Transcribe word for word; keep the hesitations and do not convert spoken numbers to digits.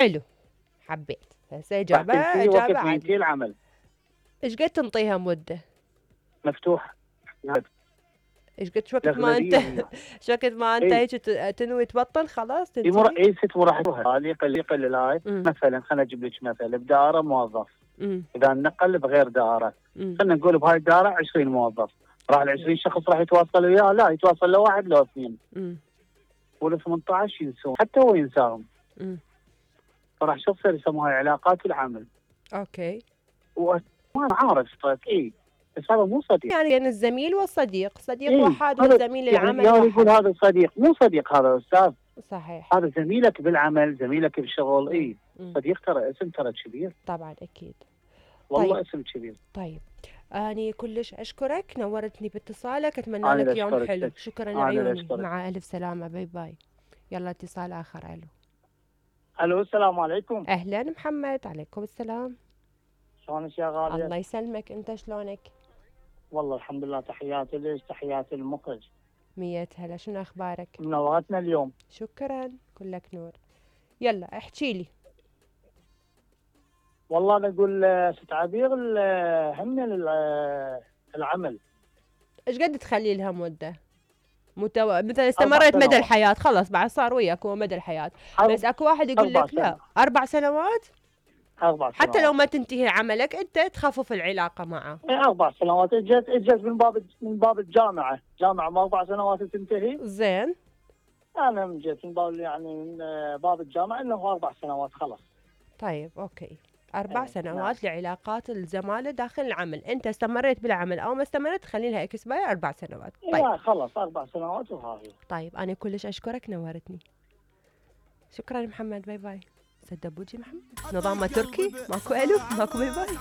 حلو، حبيت. هسه راح اجابه تنتهي اجابه وقت ما عادي. ينتهي العمل. ايش قد تنطيها مده؟ مفتوح. ايش قد وقت ما انت ايش وقت ما انت هيك تنوي تبطل خلاص تنتهي؟ اي ست مراحل يقل يقل الهاي. مثلا خليني اجيب لك مثل بدائره موظف. مم. اذا نقل بغير دائره خلينا نقول بهاي الدائره عشرين موظف، راح ال عشرين شخص راح يتواصل وياه؟ لا، يتواصل له واحد لو اثنين. وال ثمانية عشر ينسون حتى هو ينساهم. امم فراح شو تصير يسموها علاقات العمل. اوكي. وما عارف اي بس هذا مو صديق. يعني بين الزميل والصديق، صديق إيه؟ وحاد وزميل يعني العمل يعني واحد. يقول هذا صديق، مو صديق هذا استاذ. صحيح. هذا زميلك بالعمل، زميلك بالشغل. اي صديق ترى اسم ترى كبير. طبعا اكيد. والله طيب. اسم كبير. طيب اني كلش اشكرك، نورتني باتصالك، اتمنى لك يوم حلو. شكرا عيوني، مع الف سلامه، باي باي. يلا اتصال اخر. الو. الو السلام عليكم. اهلا محمد. عليكم السلام. شلونك يا غالية؟ الله يسلمك، انت شلونك؟ والله الحمد لله. تحياتي ليش، تحياتي المخرج. مية هلا، شنو اخبارك؟ منورتنا اليوم. شكرا، كلك نور. يلا احكي لي. والله انا اقول ست عبير همنا العمل. ايش قد تخلي لها مده؟ متو... مثلا استمرت مدى الحياه، خلص بعد صار وياك هو مدى الحياه. بس اكو واحد يقول لك لا، اربع سنوات. اربع سنوات حتى لو ما تنتهي عملك انت تخفف العلاقه معه. اي اربع سنوات. اجت اجت من باب من باب الجامعه، جامعه ما اربع سنوات تنتهي. زين. انا جيت من باب يعني من باب الجامعه انه اربع سنوات خلاص. طيب اوكي. أربع سنوات نعم. لعلاقات الزمالة داخل العمل، أنت استمريت بالعمل أو ما استمرت خلي لها إكسباير أربع سنوات. طيب. لا خلاص أربع سنوات وهاي. طيب أنا كلش أشكرك، نورتني. شكرا محمد، باي باي. سدبوجي محمد، نظامه تركي، ماكو ألو، ماكو باي باي.